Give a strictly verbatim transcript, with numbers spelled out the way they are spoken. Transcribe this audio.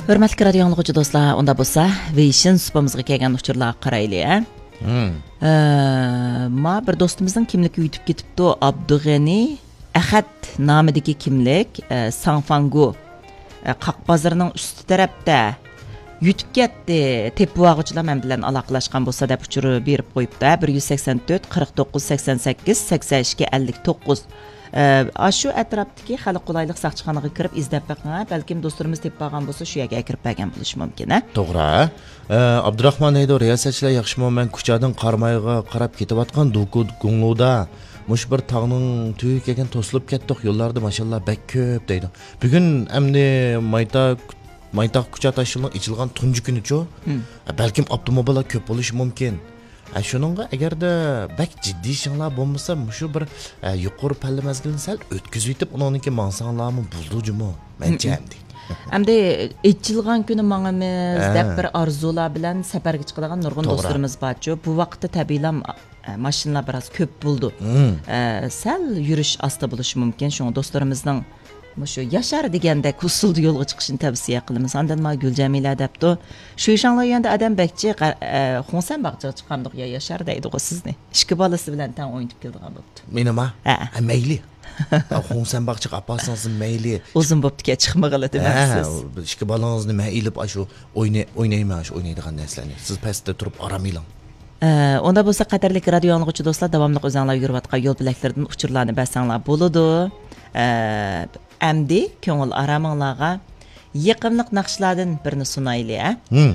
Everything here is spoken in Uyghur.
ھۆرمەتلىك رادىيو ئاڭلىغۇچى دوستلار، ئۇندا بولسا ۋېيشىن سۇپىمىزغا كەلگەن ئۇچۇرلارغا قارايلى، ھە؟ مم. ئە، ما بىر دوستىمىزنىڭ كىملىكى يۈتۈپ كېتىپتۇ، ئابدۇغېنى ئەخەت نامىدىكى كىملىك، ئە، ساڭفاڭگۇ، ئە، قاق بازىرىنىڭ ئۈستى تەرەپتە يۈتۈپ كەتتى، تېپىۋالغۇچىلار مەن بىلەن ئالاقىلەشكەن بولسا دەپ ئۇچۇر بېرىپ قويۇپتۇ، ھە، بىر يۈز سەكسەن تۆت، قىرىق توققۇز، سەكسەن سەككىز، سەكسەن ئىككى، ئەللىك توققۇز. ئە، ئاشۇ ئەتراپتىكى خەلق قولايلىق ساقچىخانىغا كىرىپ ئىزدەپ بېقىڭ، ھە، بەلكىم دوستلىرىمىز تېپىپ قالغان بولسا شۇ يەرگە ئەكىرىپ بەرگەن بولۇشى مۇمكىن، ھە. توغرا. ئە، ئابدۇراخمان دەيدۇ، رىياسەتچىلەر ياخشىمۇ؟ مەن كۇچادىن قارامايغا قاراپ كېتىۋاتقان دوكۇ گۇڭلۇدا مۇشۇ بىر تاغنىڭ تۈۋىگە كەلگەن توسۇلۇپ كەتتۇق، يوللاردا ماشىنىلار بەك كۆپ دەيدۇ. بۈگۈن ئەمدى مايتا-، مايتاغ كۇچا تاشيولىنىڭ ئېچىلغان تۇنجى كۈنىچۇ؟ مم. بەلكىم ئاپتوموبىللار كۆپ بولۇشى مۇمكىن. ھە، شۇنىڭغا ئەگەردە بەك جىددىي ئىشىڭلار بولمىسا، مۇشۇ بىر، ئە، يۇقىرى پەللە مەزگىلىنى سەل ئۆتكۈزۈۋېتىپ، ئۇنىڭدىن كېيىن ماڭساڭلارمۇ بولىدۇ جۇمۇ، مەنچە مم. ئەمدى. ئەمدى ئېچىلغان كۈنى ماڭىمىز ھە. دەپ بىر ئارزۇلار بىلەن سەپەرگە چىقىدىغان نۇرغۇن توغرا. دوستلىرىمىز بارچۇ. بۇ ۋاقىتتا تەبىئىيلا، ئە، ماشىنىلار بىراز كۆپ بولىدۇ. مم. ئە، سەل يۈرۈش ئاستا بولۇشى مۇمكىن. شۇڭا دوستلىرىمىزنىڭ مۇشۇ ياشار دېگەندەك ئۇسۇلدا يولغا چىقىشىنى تەۋسىيە قىلىمىز. ئاندىن ما گۈلجەمىلە دەپتۇ، شۇيشاڭلو يۈەندە ئادەم بەكچى، غە-، ئە، خۇڭسەن باغچىغا چىققاندۇق يا ياشار دەيدىغۇ سىزنى. ئىككى بالىسى بىلەن تەڭ ئوينىتىپ كېلىدىغان بوپتۇ. مېنىما؟ ھە. ھە، مەيلى. ھە، خۇڭسەن باغچىغا ئاپارسىڭىزمۇ مەيلى. ئۇزۇن بوپتىكەن، چىقمىغىلى ھە، دېمەمسىز. ئىككى بالىڭىزنى مەن ئېلىپ ئاشۇ ئويناي-، ئوينايمەن، ئاشۇ ئوينايدىغان نەرسىلەرنى. سىز پەستە تۇرۇپ ئارام ئېلىڭ. ئە، ئۇندا بولسا قەدىرلىك رادىيو ئاڭلىغۇچى دوستلار، داۋاملىق ئۆزۈڭلار يۈرۈۋاتقان يول بۆلەكلىرىدىن ئۇچۇرلارنى بەرسەڭلار بولىدۇ. ئە، ئەمدى كۆڭۈل ئارامىڭلارغا يېقىملىق ناخشىلاردىن بىرنى سۇنايلى، ھە؟ ھىم.